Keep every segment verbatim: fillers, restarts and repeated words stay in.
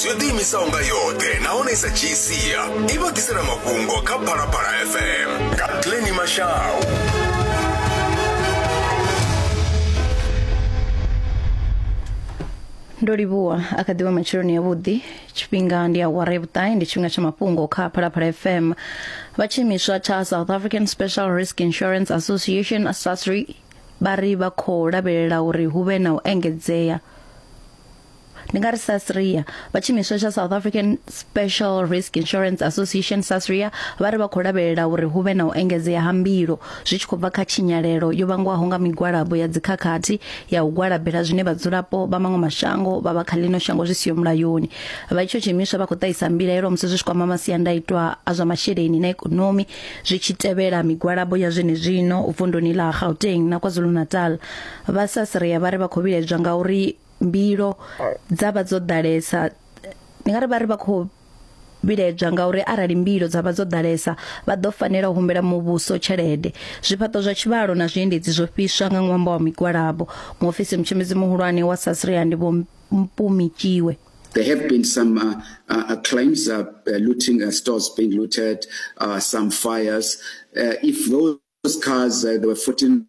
News yo ḓiimisaho nga yoṱhe nahone i sa dzhii sia i vha ḓisela mafhungo kha Phalaphala F M nga Glenny Mashau. Ndo livhuwa a kha ḓivha matsheloni ya vhuḓi tshifhinga ndi awara ya vhuṱahe ndi tshifhinga tsha mafhungo kha Phalaphala F M. Vha tshiimiswa tsha South African Special Risk Insurance Association SASRI vha ri vha khou lavhelela uri hu vhe na u engedzea. Ndi nga ri SASRIA vha tshiimiswa tsha South African Special Risk Insurance Association SASRIA vha ri vha khou lavhelela uri hu vhe na u engedzea ha mbilo zwi tshi khou bva kha tshinyalelo yo vhangwaho nga migwalabo ya dzikhakhathi ya u gwalabela zwine vhadzulapo vha maṅwe mashango vha vha kha ḽino shango zwi siho mulayoni. Vha itsho tshiimiswa vha khou ṱahisa mbilaelo musi zwi tshi kwama masiandaitwa a zwa masheleni na ikonomi zwi tshi tevhela migwalabo ya zwenezwino vunduni ḽa Gauteng na KwaZulu-Natal. Vha SASRIA vha ri vha khou vhilaedzwa ngauri mbilo dza vha dzo ḓalesa ndi nga ri vha ri vha khou vhiledzwa ngauri arali mbilo dza vha dzo ḓalesa vha ḓo fanela u humbela muvhuso tshelede. Zwifhaṱo zwa tshivhalo na zwiendedzi zwo fhiswa nga ṅwambo wa migwalabo. Muofisi mutshimbidzi muhulwane wa SASRIA ndi Vho Mpumi Tjiwe. There have been some uh, uh, claims, uh, looting, uh, stores being looted, uh, some fires. Uh, if those cars, uh, there were fourteen,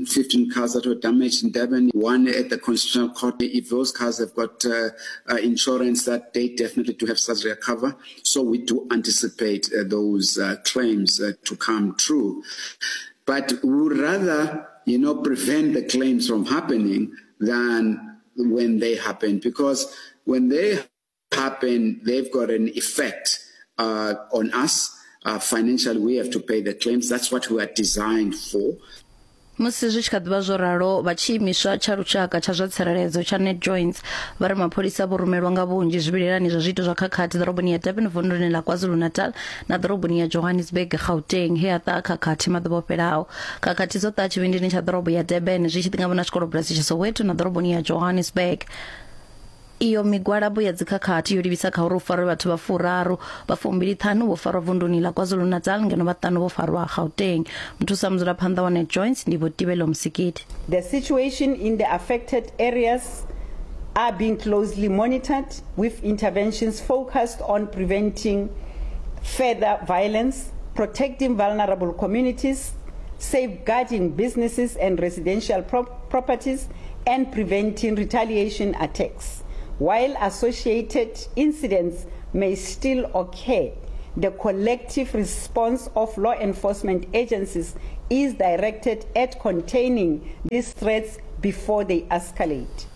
fifteen cars that were damaged in Durban, one at the Constitutional Court. If those cars have got uh, uh, insurance, that they definitely do have SASRIA cover. So we do anticipate uh, those uh, claims uh, to come true. But we would rather, you know, prevent the claims from happening than when they happen, because when they happen, they've got an effect uh, on us. Uh, financially, we have to pay the claims. That's what we are designed for. Musi zwi tshi kha ḓivha zwo ralo vha tshiimiswa tsha lushaka tsha zwa tsireledzo tsha NetJoints vha ri mapholisa vho rumelwa nga vhunzhi zwivhilelani zwa zwiito zwa khakhathi ḓoroboni ya Durban vunduni ḽa KwaZulu-Natal na ḓoroboni ya Johannesburg Gauteng he ha ṱaha khakhathi maḓuvha o fhelaho. Khakhathi dzo ṱaha tshivhindini tsha ḓorobo ya Durban zwi tshi ḓi na tshikolobulasi tsha Soweto na ḓoroboni ya Johannesburg. Iyo migwalabo ya dzikhakhathi yo livhisa kha uri u farwe vhathu vha furaru vha fumbili ṱhanu vho farwa vunduni ḽa KwaZulu-Natal ngeno vhaṱanu vho farwa Gauteng. Muthusa mudzulaphanḓa wa NetJoints ndi Vho Tibelo Msikiti. The situation in the affected areas are being closely monitored with interventions focused on preventing further violence, protecting vulnerable communities, safeguarding businesses and residential pro- properties, and preventing retaliation attacks. While associated incidents may still occur, the collective response of law enforcement agencies is directed at containing these threats before they escalate.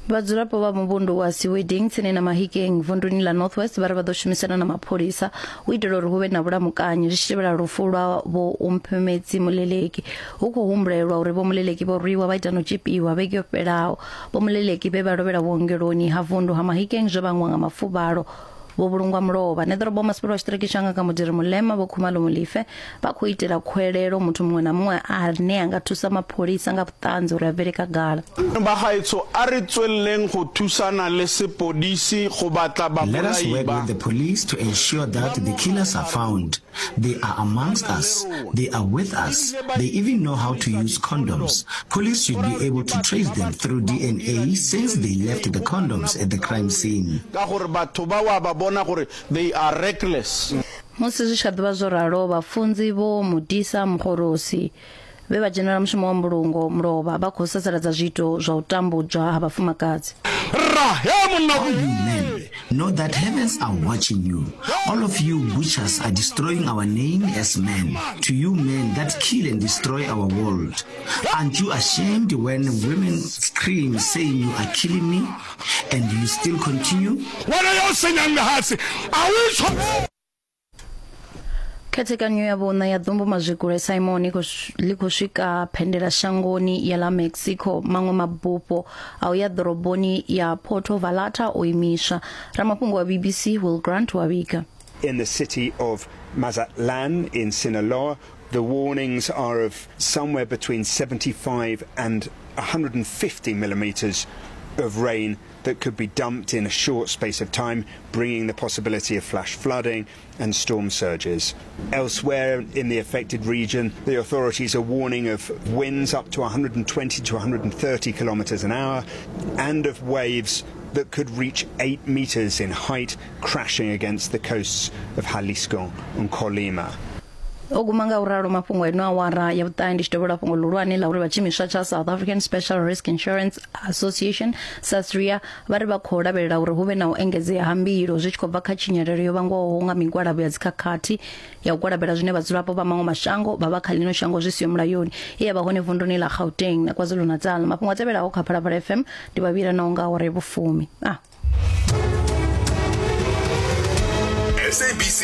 Vhadzulapo vha muvhundu wa Siweding tsini na Mahikeng vunduni ḽa North West vha ri vha ḓo shumisana na mapholisa u itela uri hu vhe na vhulamukanyi zwi tshi tevhela lufu lwa Vho Umphemedzi Moleleki. Hu khou humbulelwa uri Vho Moleleki vho rwiwa vha ita no tshipiwa vhege yo fhelaho. Vho Moleleki vhe vha lovhela vhuongeloni ha vundu ha Mahikeng zwo vhangwa nga mafuvhalo vho vhulungwa mulovha. Neḓorobo masipala wa tshiṱiriki tsha Ngaka Modiri Molema Vho Khumalo Molefe vha khou itela khuwelelo muthu muṅwe na muṅwe ane a nga thusa mapholisa nga vhuṱanzi uri a bvele khagala. Bagaetsho a re tswelleng go thusana le sepodisi go batla Let us babolai work ba. with the police to ensure that the killers are found. They are amongst us. They are with us. They even know how to use condoms. Police should be able to trace them through D N A since they left the condoms at the crime scene. Ka gore batho ba wa ba bona gore they are reckless. Musi zwi tshi kha ḓivha zwo ralo vhafunzi Vho Mudisa Mkhorosi vhe vha dzhenela mushumo wa mbulungo mulovha vha khou sasaladza zwiito zwa u tambudzwa ha vhafumakadzi. All you men, know that heavens are watching you. All of you butchers are destroying our name as men. To you men that kill and destroy our world. Aren't you ashamed when women scream saying you are killing me? And you still continue? Khethekanyo ya vhuṋa ya ḓumbu mazwikule Simon ḽi khou swika phendela shangoni ya ḽa Mexico. Maṅwe mabufho a u ya ḓoroboni ya Puerto Vallarta o imiswa. Ramafhungo wa B B C Will Grant wa vhiga. In the city of Mazatlan in Sinaloa, the warnings are of somewhere between seventy-five and one hundred and fifty millimeters of rain that could be dumped in a short space of time, bringing the possibility of flash flooding and storm surges. Elsewhere in the affected region, the authorities are warning of winds up to one hundred and twenty to one hundred and thirty kilometers an hour and of waves that could reach eight meters in height, crashing against the coasts of Jalisco and Colima. O guma nga u ralo mafhungo ino awara ya vhuṱahe ndi tshi dovhela fhungo ḽihulwane ḽa uri vha tshiimiswa tsha South African Special Risk Insurance Association SASRIA vha ri vha khou lavhelela uri hu vhe na u engedzea ha mbilo zwi tshi khou bva kha tshinyalelo yo vhangwaho nga migwalabo ya dzikhakhathi ya u gwalabela zwine vhadzulapo vha maṅwe mashango vha vha kha ḽino shango zwi siho mulayoni ye ya vha hone vunduni ḽa Gauteng na KwaZulu-Natal. Mafhungo a tevhelaho kha Phalaphala F M ndi vhavhila naho nga awara ya vhufumi. Ah. S A B C